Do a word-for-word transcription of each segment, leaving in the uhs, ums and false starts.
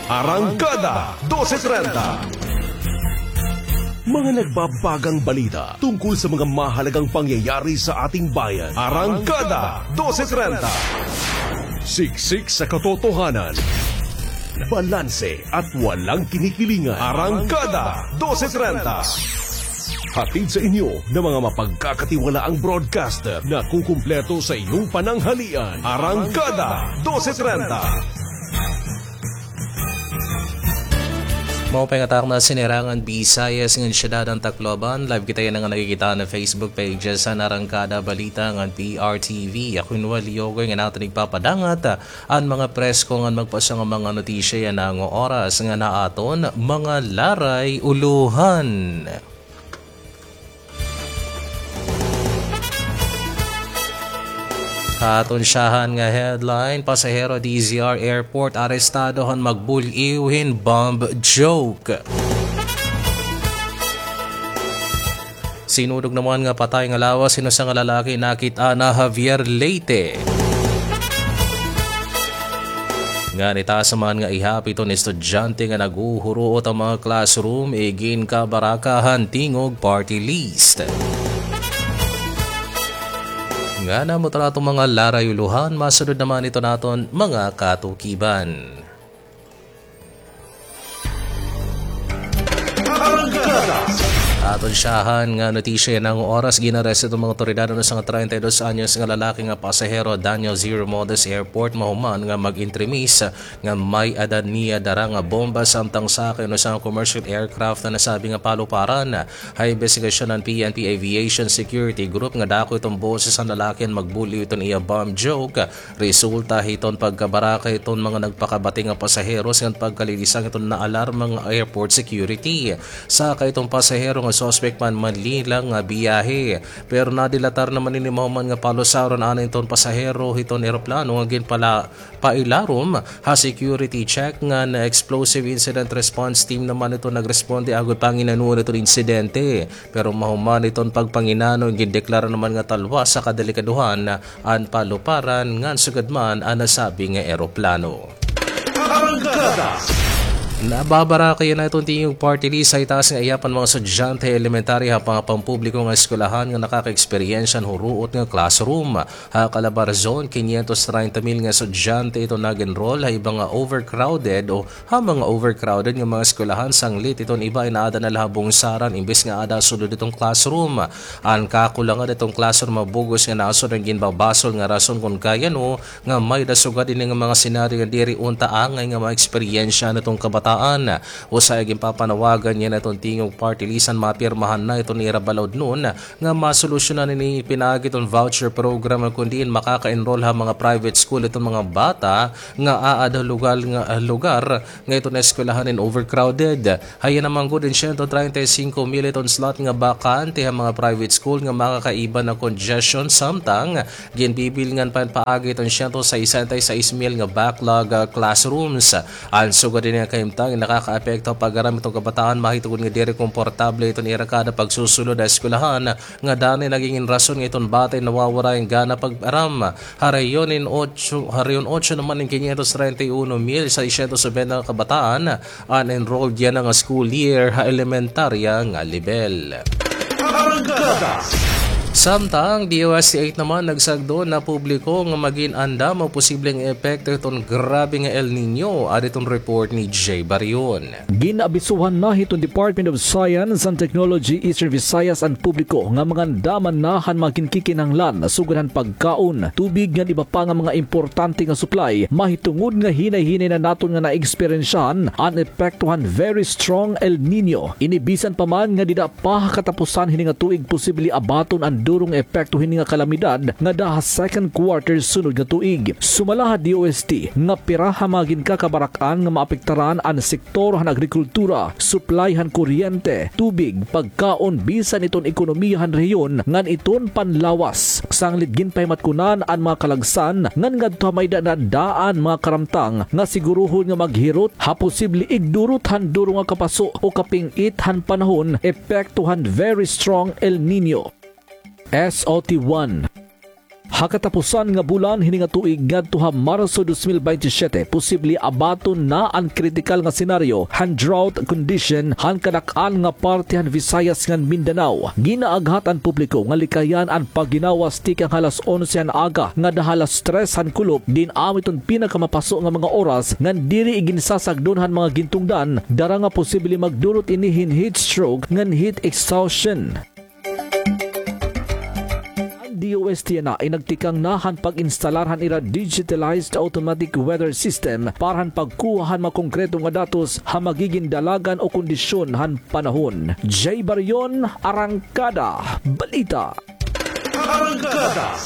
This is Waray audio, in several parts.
Arangkada dose trenta. Mga nagbabagang balita tungkol sa mga mahalagang pangyayari sa ating bayan. Arangkada dose trenta. Siksik sa katotohanan. Balanse at walang kinikilingan. Arangkada dose trenta. Hatid sa inyo ng mga mapagkakatiwalaang broadcaster na kukumpleto sa iyong pananghalian. Arangkada dose trenta. Maupay nga takna, Sinerangan Visayas ngan Syudad han Tacloban. Live kita yana nga nakikita na Facebook pages han Arangkada Balita ngan P R T V. Ako in Wally Yogoy nga naton igpapadangat an mga presko ngan magpasya nga mga notisya yana nga oras ngan aton mga laray ulohan. Ha aton syahan nga headline, pasahero D Z R Airport arestado han magbul-iw hin bomb joke. Sinudog naman nga patay nga lawas hin usa nga lalaki nakit-an ha Javier, Leyte. Ngan itaas man nga ihap iton estudyante nga naghuhuruot han mga classroom, iginkabaraka han Tingog Party List. Ngan amo ito an aton mga laray ulohan, masunod naman ito an aton mga katukiban. Aton syahan nga notisya yana nga oras, gin-arrest iton mga awtoridad an usa nga treinta y dos anyos nga lalaki nga pasahero, Daniel Zero Modus Airport, mahuman nga mag-entremis nga may-ada niya dara nga bomba samtang sakay han usa nga commercial aircraft ha nasabi nga paluparan. Ha imbestigasyon han P N P Aviation Security Group nga dako iton boses han lalaki han magbul-iw iton iya bomb joke, resulta hiton pagkabaraka hiton mga nagpakabati nga pasaheros ngan pagkalilisang hiton naalarma nga airport security. Sakay iton pasahero nga suspek man Manila nga biyahe, pero nadilatar naman ini mahuman nga palusaron anay iton pasahero hiton eroplano nga ginpala- pailarom ha security check ngan explosive incident response team naman ito nagresponde agod panginanoon iton insidente. Pero mahuman iton pagpanginano, gindeklara naman nga talwas ha kadelikadohan an paluparan ngan sugad man an nasabi nga eroplano. Arangkada. Nababaraka yana iton Tingog Party List ha itaas nga ihap han mga estudyante ha elementarya ha mga pampubliko nga eskwelahan nga nakakaeksperyensya han huruot nga classroom. Ha Calabarzon, kinyentos treinta mil nga estudyante iton nag-enroll ha iba nga overcrowded o ha mga overcrowded nga mga eskwelahan, sanglit iton iba ay naada na la ha Bungsaran imbes nga aada sulod iton classroom. An kakulangan iton classroom ha bug-os nga nasod an ginbabasol nga rason kon kay ano nga may-ada sugad ini nga mga senaryo nga diri unta angay nga maeksperyensyahan iton kabataan. Usa ha ginpapanawagan yana iton Tingog Party List an mapirmahan na iton ira balaod nun nga masolusyonan ini pinaagi iton voucher program, kon diin makaka-enroll ha mga private school iton mga bata nga aada ha lugar nga, lugar nga iton eskwelahan in overcrowded. Ha iya naman gud in siyento treinta y singko mil iton slot nga bakante ha mga private school nga makakaiba na congestion, samtang ginbibilngan pa hin paagi iton siyento sesenta y seis mil nga backlog, ah, classrooms. An sugad hini nga kahimtang nakakaapekto ha pag-aram iton kabataan, mahitungod nga diri komportable iton ira kada pagsusulod ha eskwelahan, nga danay nagigin rason nga iton bata in nawawara hin gana pag-aram. Ha rehiyon in otso, ha rehiyon otso naman in kinyentos treinta y uno mil seiscientos noventa nga kabataan an enrolled yana nga school year ha elementarya nga lebel. Arangkada. Samtang D O S T eight naman nagsagdon na publiko nga magin andam ha posibleng epekto hiton grabe nga El Niño, adi iton report ni Jay Barion. Gin-abisuhan na hiton Department of Science and Technology Eastern Visayas an publiko nga mangandaman na han mga ginkikinahanglan sugad han pagkaon, tubig ngan iba pa nga mga importante nga supply, mahitungod nga hinay-hinay na naton nga naeksperyensyahan an epekto han very strong El Niño. Ini bisan pa man nga dida pa ha katapusan hini nga tuig posible abaton an duro nga epekto hini nga kalamidad ngada ha second quarter sunod nga tuig. Sumala ha D O S T nga pira ha mga ginkakabarak-an nga maapektaran an sektor han agrikultura, supply han kuryente, tubig, pagkaon, bisan iton ekonomiya han rehiyon ngan iton panlawas. Sanglit ginpahimatkunan an mga kalagsan ngan ngadto ha may-ada na daan mga karamtang nga siguruhon nga maghirot ha posible igdurot han duro nga kapaso o kaping-it han panahon, epekto han very strong El Niño. S O T one. Ha katapusan nga bulan hini nga tuig ngadto ha Marso dos mil baynte siyete, posible abaton na an kritikal nga senaryo han drought condition han kadak-an nga parte han Visayas ngan Mindanao. Ginaaghat an publiko nga likayan an pagginawas tikang halas onse han aga ngada halas tres han kulop, diin amo iton pinakamapaso nga mga oras ngan diri iginsasagdon han mga gintungdan, dara nga posible magdulot ini hin heat stroke ngan heat exhaustion. An D O S T N A inagtikang na han pag-instalar han ira digitalized automatic weather system para han pagkuha han mga konkreto nga datos ha magigin dalagan o kondisyon han panahon. Jay Barion, Arangkada Balita. Arangkada.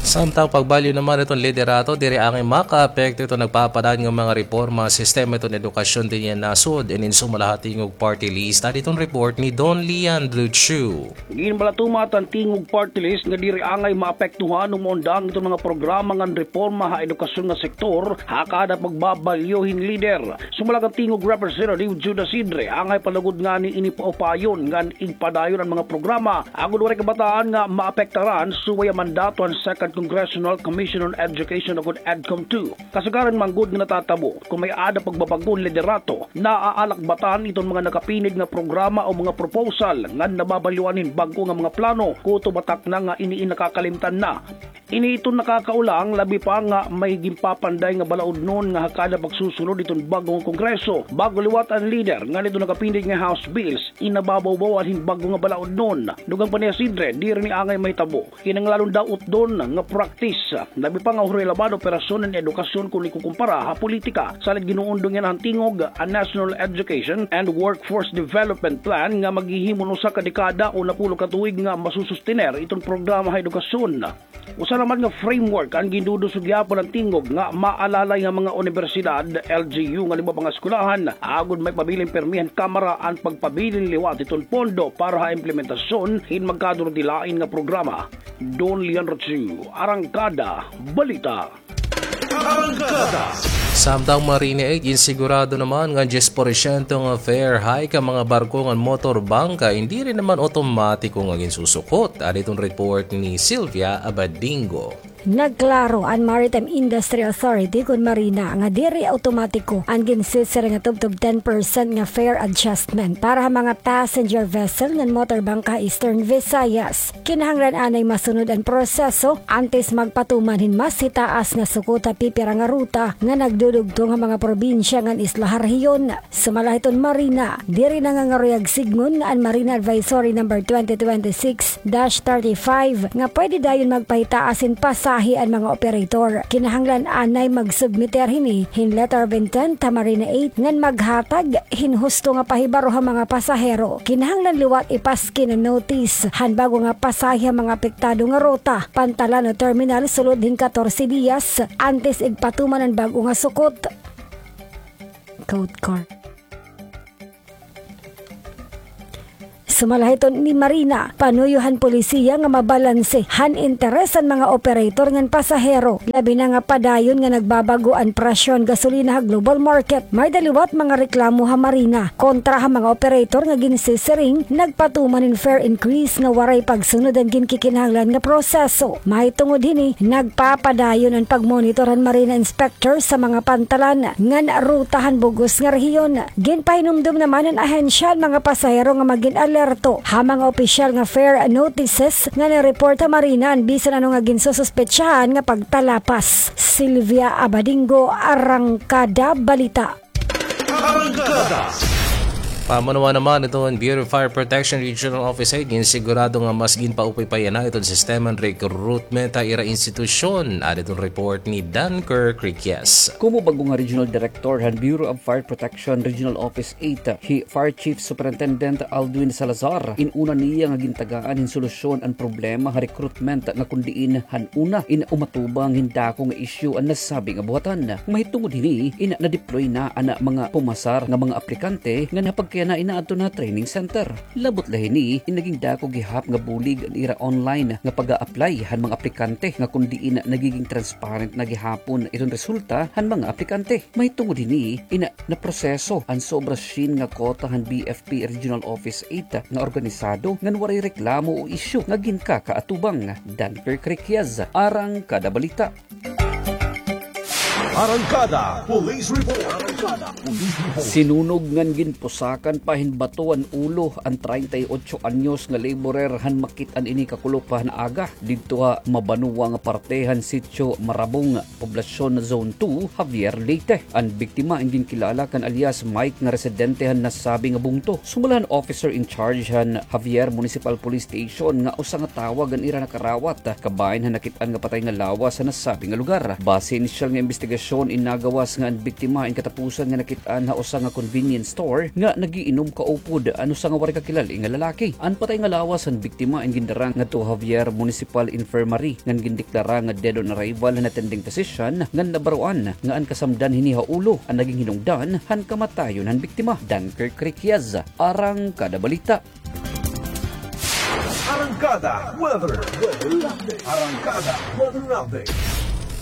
Samtang pagbalyo naman iton liderato, diri angay makaapekto iton nagpapadayon nga mga reporma ha sistema iton edukasyon dinhi ha nasod. Inin sumala ha Tingog Party List, adi iton report ni Don Leandro Chu. Ginbalatuman han Tingog Party List nga diri angay maapektuhan o maundang iton mga programa ngan reporma ha edukasyon nga sektor ha kada pagbabalyo hin lider. Sumala kan Tingog Representative Judas Sidre, angay palugod ngani ini paupayon ngan igpadayon an mga programa agod waray kabataan nga maapektaran subay ha mandato han Second Congressional Commission on Education ukon EDCOM two. Kasagaran man gud nga natatabo kon may-ada pagbabag-o hin liderato, naaalakbatan iton mga nakapinid nga programa o mga proposal ngan nababalyoan hin bag-o nga mga plano, kutob ha takna nga ini in nakakalimtan na. Ini iton nakakaulang, labi pa nga may ginpapanday nga balaudnon nga ha kada pagsusunod iton bag-o nga Kongreso, bag-o liwat an lider ngan iton nakapinid nga House bills, inababawbawan hin bag-o nga balaudnon. Dugang pa ni Sidre, diri ini angay mahitabo. Kinahanglanon daw utdon nga practice, labi pa nga huray laban operasyon an edukasyon kon ikukumpara ha politika. Salit ginuundong yana han Tingog an National Education and Workforce Development Plan nga maghihimo hin usa ka dekada o napulo ka tuig nga masusustener iton programa ha edukasyon. Usa naman nga framework an gindudusog gihapon han Tingog nga maalalay nga mga unibersidad, L G U ngan iba pa nga eskwelahan, agod maipabilin pirmi han Kamara an pagpabilin liwat iton pondo para ha implementasyon hin magkadurudilain nga programa. Don Leon Rochu, Arangkada Balita. Arangkada. Samtang Marina Eight, ginsigurado naman nga diyes porsyento nga fare hike an mga barko ngan motor bangka, indi rin naman otomatiko nga ginsusukot. Adi iton report ni Sylvia Abadingo. Nagklaro an Maritime Industry Authority kon Marina nga diri otomatiko an ginsisiring nga tubtob ten percent nga fare adjustment para ha mga passenger vessel ngan motor bangka ha Eastern Visayas. Kinahanglan anay masunod an proseso antes magpatuman hin mas hitaas nga sukot ha pipira nga ruta nga nagdudugtong ha mga probinsya ngan isla ha rehiyon. Sumala hiton Marina, diri nangangaruyag sidngon an Marina Advisory Number twenty twenty-six dash thirty-five nga pwede dayon magpahitaas hin pasahe an mga operator. Kinahanglan anay magsubmiter hini hin letter of intent ha Marina Eight ngan maghatag hin husto nga pahibaro ha mga pasahero. Kinahanglan liwat ipaskin an notice han bag-o nga pasahe ha mga apektado nga ruta, pantalan o terminal sulod hin katorse diyas antes igpatuman an bag-o nga sukot. Quote card. Sumala hiton ni Marina, panuyo han polisiya nga mabalanse han interes han mga operator ngan pasahero, labi na nga padayon nga nagbabag-o an presyo han gasolina ha global market. May-ada liwat mga reklamo ha Marina kontra ha mga operator nga ginsisiring nagpatuman hin fare increase nga waray pagsunod han ginkikinahanglan nga proseso. Mahitungod hini, nagpapadayon an pagmonitor han Marina inspector sa mga pantalan ngan ruta han bug-os nga rehiyon. Ginpahinumdom naman han ahensya an mga pasahero nga magin alerto ha mga opisyal nga fare notices ngan i-report ha Marina an bisan ano nga ginsususpetsahan nga pagtalapas. Sylvia Abadingo, Arangkada Balita. Arangkada. Pamunuan naman iton Bureau of Fire Protection Regional Office Eight, ginsigurado nga mas ginpaupay pa yana iton sistema han recruitment ha ira institusyon. Adi iton report ni Dunker Criquias. Komo bag-o nga Regional Director han Bureau of Fire Protection Regional Office Eight, hi Fire Chief Superintendent Aldwin Salazar, in-una niya nga gintagaan hin solusyon an problema ha recruitment nga kon diin han una in umatubang hin dako nga isyu an nasabi nga buhatan. Mahitungod hini in na-deploy na an mga pumasar nga mga aplikante ngan ha pag- Yana inaadto na training center. Labot la hini, in naging dako gihap nga bulig an ira online nga pag-a-apply han mga aplikante nga kon diin nagiging transparent na gihapon iton resulta han mga aplikante. Mahitungod hini, ina naproseso an sobra syen nga kota han B F P Regional Office eight nga organisado ngan waray reklamo o isyu nga ginkakaatubang. Dunker Criquias, Arangkada Balita. Arangkada Police Report. Arangkada Police Report. Sinunog ngan ginpusakan pa hin bato an ulo an treinta y ocho anyos nga laborer han makit-an ini kakulop han aga didto ha Mabanua nga parte han Sitio Marabong, Poblacion Zone two, Javier, Leyte. An biktima in ginkilala kan alias Mike nga residente han nasabi nga bungto. Sumala han officer in charge han Javier Municipal Police Station nga usa nga tawag an ira nakarawat kabahin han nakit-an nga patay nga lawas ha nasabi nga lugar. Base inisyal nga imbestigasyon, in nagawas nga an biktima in katapusan nga nakit-an ha usa nga convenience store nga nagiinom kaupod an usa nga waray kakilala nga lalaki. An patay nga lawas han biktima in gindara ngadto ha Javier Municipal Infirmary ngan gindeklara nga dead on arrival han attending physician ngan nabaroan nga an kasamdan hini ha ulo an naging hinungdan han kamatayon han biktima. Dunker Criquias, Arangkada Balita. Arangkada Weather. Arangkada Weather Update.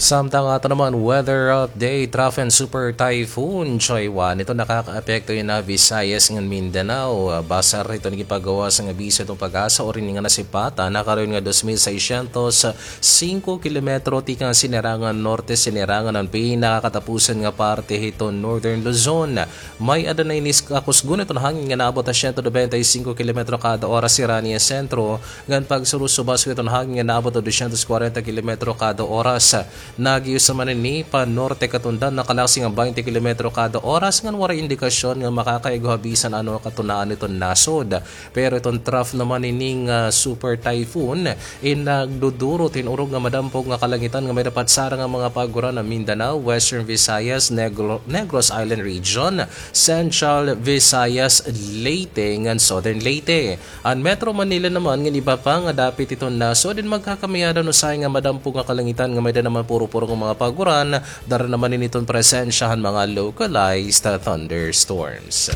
Samtang ato naman weather update, Trough and Super Typhoon Choiwan. Ito nakakaapekto yana ha Visayas ngan Mindanao. Base hito nagipagawas nga bisa hiton PAGASA, uri ini nga nasipatan, nakarayon nga dos mil seiscientos singko kilometro tikang Sinirangan Norte, Sinirangan an pinakakatapusan nga parte hiton Northern Luzon. May-ada na ini kakusgon iton hangin nga naabot ha siyento nobenta y singko kilometro kada oras sirani ha sentro, ngan pagsurusubas iton hangin nga naabot ha dosyentos kwarenta kilometro kada oras. Nag-iyo sa man ini pa-norte katundan, nakalaksi nga baynte kilometro kada oras, ngan waray indikasyon nga makakaigo ha bisan ano katunaan iton nasod. Pero iton trough naman ini nga super typhoon, in nagduduro hin urog nga madampog nga kalangitan nga may-ada patsara nga mga paguran ha Mindanao, Western Visayas, Negro-, Negros Island Region, Central Visayas, Leyte, ngan Southern Leyte. An Metro Manila naman ngan iba pa nga dapit hiton nasod in magkakamayadan usahay nga madampog nga kalangitan nga may-ada naman puro-puro nga mga paguran, dara naman ini hiton presensya han mga localized thunderstorms.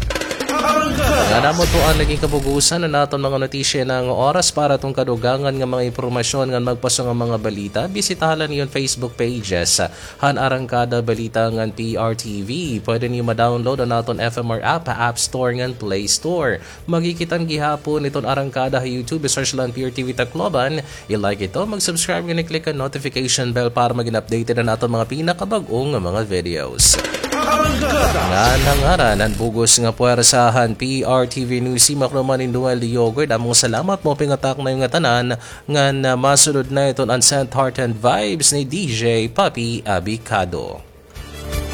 Ngan amo ito an naging kabugusan han aton mga notisya yana nga oras. Para hiton kadugangan nga mga impormasyon ngan magpaso nga mga balita, bisitaha la niyo an Facebook pages han Arangkada Balita ngan P R T V. Pwede niyo ma-download an aton F M R app ha App Store ngan Play Store. Makikit-an gihapon iton Arangkada ha YouTube. I-search la an P R T V Tacloban. I-like ito, mag-subscribe ngan i-click an notification bell para maging updated an aton mga pinakabag-o nga mga videos. Ngan ha ngaran han bug-os nga puwersa han P R T V News Team, ako naman hi Noel Diogord. Amo nga salamat, maupay nga takna niyo nga tanan, ngan, ah, masunod na iton Unsent Heart and Vibes ni D J Papi Abicado.